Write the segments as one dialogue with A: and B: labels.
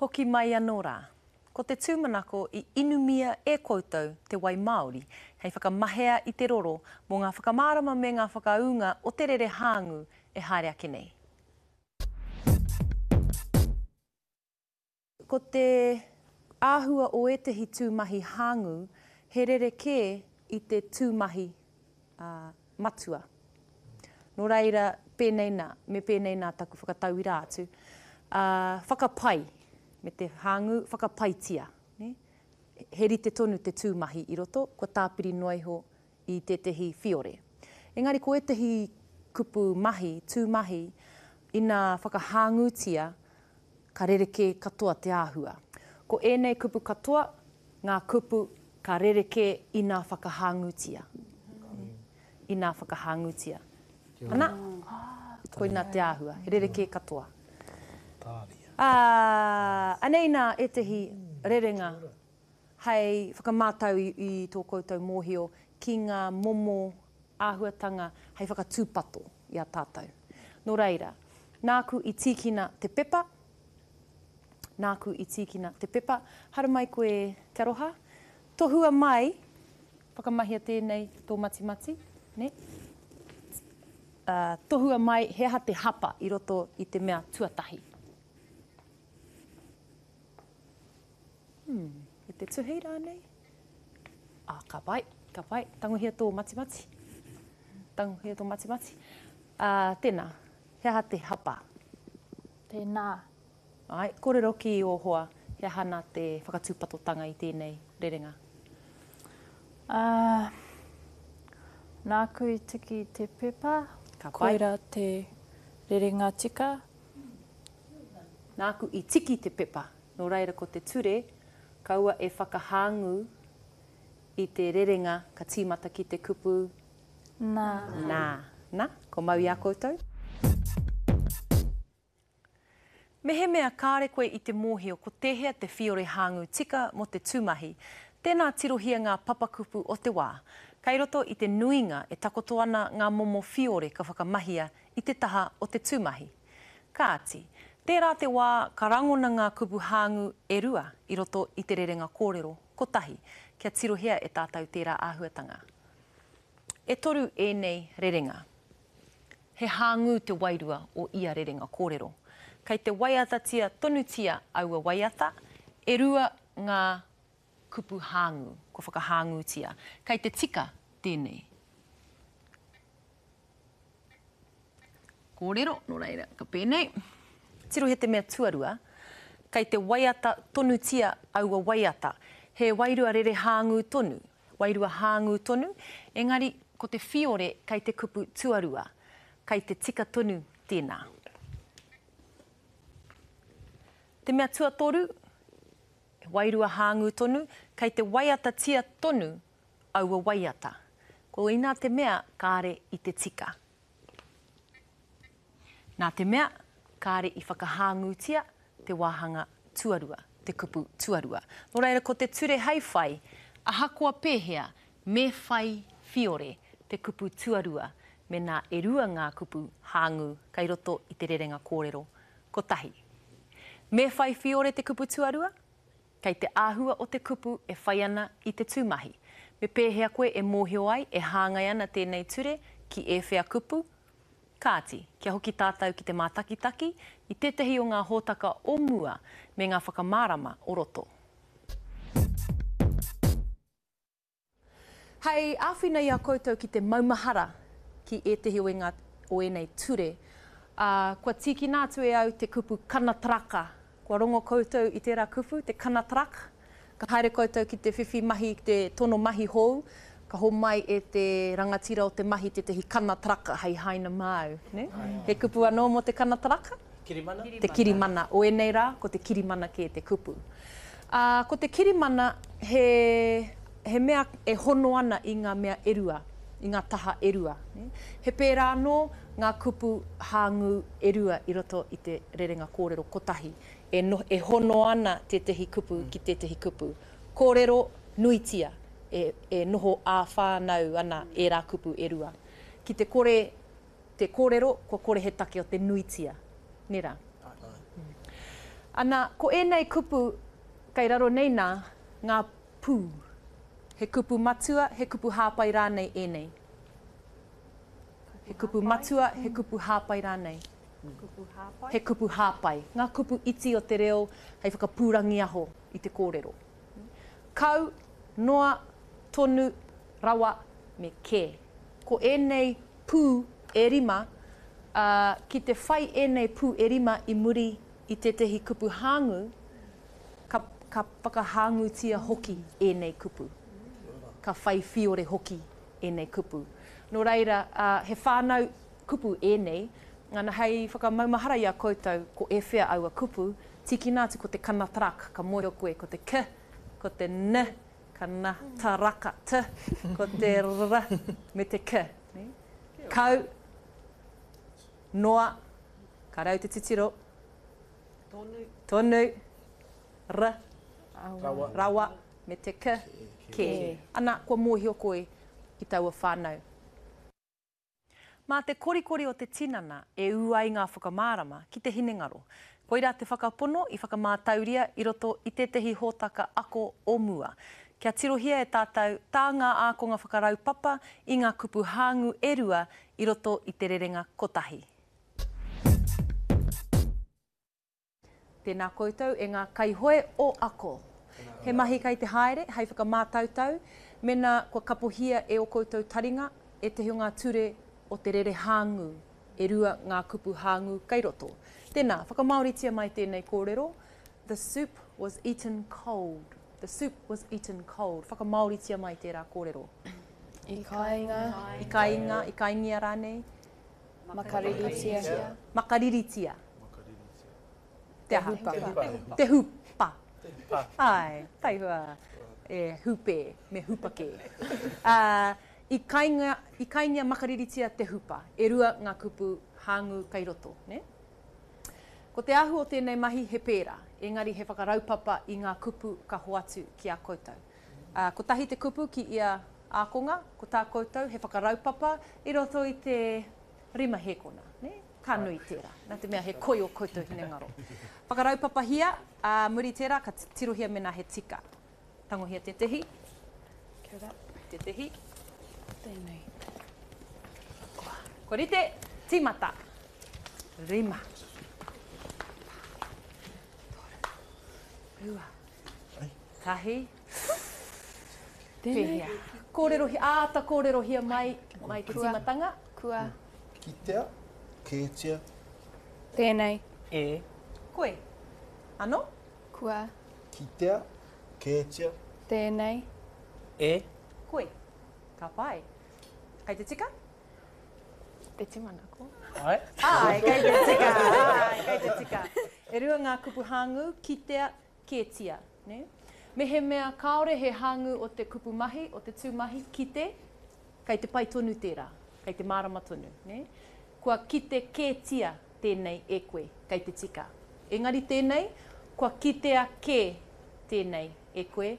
A: Hoki mai anō rā. Ko te tūmanako i inumia e koutou te wai māori hei whakamahea i te roro mō ngā whakamārama me ngā whakaūnga o te rere hāngū e haere ake nei. Ko te āhua o ētahi tūmahi hāngū he rerekē i te tūmahi matua. Nō reira, pēnei nā, me pēnei nā taku whakatauira atu, ā, whakapai, me te hāngū, whakapaitia, nē? He rite tonu te tūmahi i roto, kua tāpiri noa iho i tētehi whiore. Engari ko ētehi kupu mahi, tūmahi, ina whakahāngūtia, ka rerekē katoa te āhua. Ko ēnei kupu katoa ngā kupu ka rerekē ina whakahāngūtia. Ina whakahāngūtia. Ana, koina te āhua, he rerekē katoa. Ā, anei nā ētehi rerenga hei whakamātau i tō koutou mōhio ki ngā momo āhuatanga hei whakatūpato i a tātou. Nō reira, nāku i tīkina te pepa, nāku i tīkina te pepa, haramai koe Te Aroha, tohua mai, whakamahia tēnei tō matimati, nē? Ā, tohua mai he aha te hapa i roto i te mea tuatahi. Hmm, me te tuhi rānei? Ah, ka pai, ka pai. Tangohia tō matimati. Tangohia tō matimati. Ah, tēnā, he aha te hapa?
B: Tēnā.
A: Ai, kōrero ki ō hoa, he aha nā te whakatūpatotanga i tēnei rerenga?
B: Ah, nāku i tiki te pepa.
A: Ka pai.
B: Koirā te rerenga tika.
A: Nāku i tiki te pepa. Nō reira ko te ture, kaua e whakahāngū i te rerenga ka tīmata ki te kupu
B: Nā.
A: Nā. Nā, ko mau i a koutou. Mehemea kāre koe i te mōhio ko tēhea te whiore hāngū tika mō te tūmahi, tēnā tirohia ngā papakupu o te wā. Kei roto i te nuinga e takoto ana ngā momo whiore ka whakamahia i te taha o te tūmahi. Kāti, tērā te wā ka rangona ngā kupu hāngū e rua i roto i te rerenga kōrero kotahi, kia tirohia e tātou tērā āhuatanga. E toru ēnei rerenga. He hāngū te wairua o ia rerenga kōrero. Kei te waiatatia tonutia aua waiata, e rua ngā kupu hāngū, kua whakahāngūtia. Kei te tika tēnei. Kōrero, nō reira, ka pēnei. Tirohia te mea tuarua, kei te waiata tonutia aua waiata. He wairua rere hāngū tonu, wairua hāngū tonu, engari ko te whiore kei te kupu tuarua. Kei te tika tonu tēnā. Te mea tuatoru, he wairua hāngū tonu, kei te waiatatia tonu aua waiata. Koinā te mea kāre i te tika. Nā te mea, kāre i whakahāngūtia te wāhanga tuarua, te kupu tuarua. Nō reira, ko te ture hei whai, ahakoa pēhea, me whai whiore te kupu tuarua mēnā e rua ngā kupu hāngū kei roto i te rerenga kōrero kotahi. Me whai whiore te kupu tuarua? Kei te āhua o te kupu e whai ana i te tūmahi. Me pēhea koe e mōhio ai e hāngai ana tēnei ture ki ēwhea kupu? Kāti, kia hoki tātou ki te mātakitaki i tētahi o ngā hōtaka o mua me ngā whakamārama o roto. Hei āwhina i a koutou ki te maumahara ki ētahi o ngā, o ēnei ture, ā, kua tīkina atu e au te kupu kanataraka. Kua rongo koutou i tērā kupu, te kanatarak? Ka haere koutou ki te whiwhi mahi, ki te tono mahi hou, ka homai e te rangatira o te mahi tētahi kanataraka hei haina māu, nē? He kupu anō mō te kanataraka?
C: Kirimana?
A: Te kirimana. O ēnei rā, ko te kirimana kē te kupu. Ā, ko te kirimana he, he mea e hono ana i ngā mea e rua, i ngā taha e rua. He pērā anō ngā kupu hāngū e rua i roto i te rerenga kōrero kotahi, e, e hono ana tētehi kupu ki tētehi kupu. Kōrero nuitia, e, e noho ā-whānau ana ērā kupu e rua. Ki te kore te kōrero, kua kore he take o te nuitia. Nē rā? Ana, ko ēnei kupu kei raro nei nā, ngā pū. He kupu matua, he kupu hāpai rānei ēnei? He kupu matua, he kupu hāpai rānei? He kupu hāpai. Ngā kupu iti o te reo hei whakapūrangiaho i te kōrero. Kau, noa, tonu, rawa, me kē. Ko ēnei pū e rima, ā, ki te whai ēnei pū e rima i muri i tētehi kupu hāngū, ka, ka whakahāngūtia hoki ēnei kupu. Ka whai whiore hoki ēnei kupu. Nō reira, ā, he whānau kupu ēnei, ana, hei whakamaumahara i a koutou ko ēwhea aua kupu, tīkina atu ko te kanatrak, ka mōhio koe ko te k, ko te n, ka na, ta, raka, t, ko te r, me te k. Kau, noa, ka rau te titiro, tonu, tonu, r, rawa, rawa, me te k, kē. Ana, kua mōhio koe ki taua whānau. Mā te korikori o te tinana e ū ai ngā whakamārama ki te hinengaro. Koirā te whakapono i whakamātauria i roto i tētehi hōtaka ako o mua. Kia tirohia e tātou tā ngā ākonga whakaraupapa i ngā kupu hāngū e rua i roto i te rerenga kotahi. Tēnā koutou e ngā kaihoe o Ako. He mahi kei te haere hei whakamātautau mēnā kua kapohia e ō koutou taringa ētahi o ngā ture o te rere hāngū, e rua ngā kupu hāngū kei roto. Tēnā, whakamāoritia mai tēnei kōrero, The soup was eaten cold. The soup was eaten cold. Whakamāoritia mai tērā kōrero.
B: I kainga.
A: I kainga, i kaingia rānei.
B: Makariritia.
A: Makariritia. Te aha? Te hupa. Te hupa. Āe, taihua. E hupe, me hupa kē. Ā, i kainga, i kaingia makariritia te hupa. E rua ngā kupu hāngū kei roto, nē? Ko te āhua o tēnei mahi he pērā, engari he whakaraupapa i ngā kupu ka hoatu ki a koutou. Ā, kotahi te kupu ki ia ākonga, ko tā koutou he whakaraupapa i roto i te rima hēkona, nē? Ka nui tērā, nā te mea he koi ō koutou hinengaro. Whakaraupapahia, ā, muri tērā ka tirohia mēnā he tika. Tangohia tētehi.
B: Kia ora.
A: Tētehi.
B: Tēnei.
A: Kua rite, tīmata. Rima. Toru. Rua. Tahi. Pēhea? Kōrerohia, āta kōrerohia mai, mai te tīmatanga.
B: Kua.
C: Kitea, kētia.
B: Tēnei.
D: E.
A: Koe. Ano?
B: Kua.
C: Kitea, kētia.
B: Tēnei.
D: E.
A: Koe. Ka pai. Kei te tika?
B: Te tūmanako.
D: Āe.
A: Āe, kei te tika. Āe, kei te tika. E rua ngā kupu hāngū, kitea, kētia, nē? Mehemea kāore he hāngū o te kupu mahi, o te tūmahi, kite, kei te pai tonu tērā, kei te mārama tonu, nē? Kua kite kētia tēnei e koe, kei te tika. Engari tēnei, kua kitea kē tēnei e koe,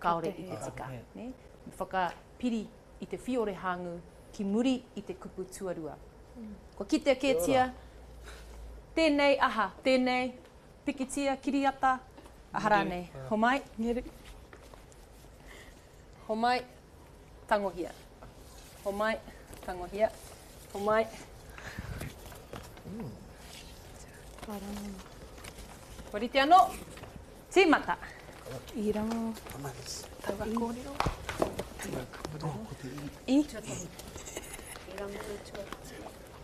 A: kāore i te tika, nē? Me whakapiri i te whiore hāngū ki muri i te kupu tuarua. Kua kitea kētia tēnei aha, tēnei, Pikitia, kiriata, aha rānei. Homai. Homai, tangohia. Homai, tangohia. Homai. Kua rite anō? Tīmata.
B: I rongo taua kōrero. I.
A: I rangona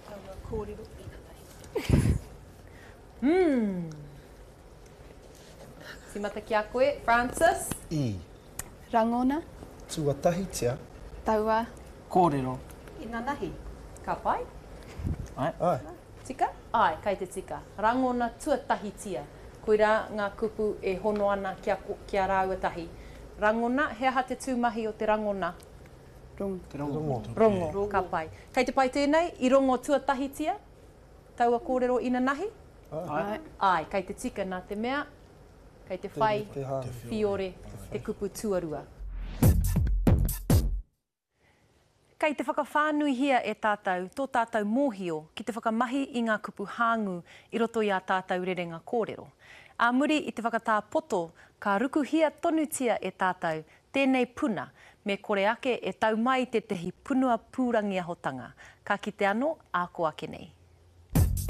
A: taua kōrero inanahi. Umm. Timata ki a koe, Francis.
C: I.
B: Rangona.
C: Tuatahitia.
B: Taua.
D: Kōrero.
A: Inanahi. Ka pai?
D: Ae.
C: Ae.
A: Tika? Ae, kei te tika. Rangona tuatahitia. Koirā ngā kupu e hono ana ki a, ki a rāua tahi. Rangona, he aha te tūmahi o te rangona?
B: Rongo.
D: Te rongo.
A: Rongo. Ka pai. Kei te pai tēnei? I rongo tuatahitia? Taua kōrero inanahi?
D: Āe.
A: Āe, kei te tika nā te mea, kei te whai whiore te kupu tuarua. Kei te whakawhānuihia e tātou tō tātou mōhio ki te whakamahi i ngā kupu hāngū i roto i ā tātou rerenga kōrero. Ā muri i te whakatā poto ka rukuhia tonutia e tātou tēnei puna me kore ake e tau mai tētehi punua pūrangiahotanga. Ka kite anō ā kō ake nei.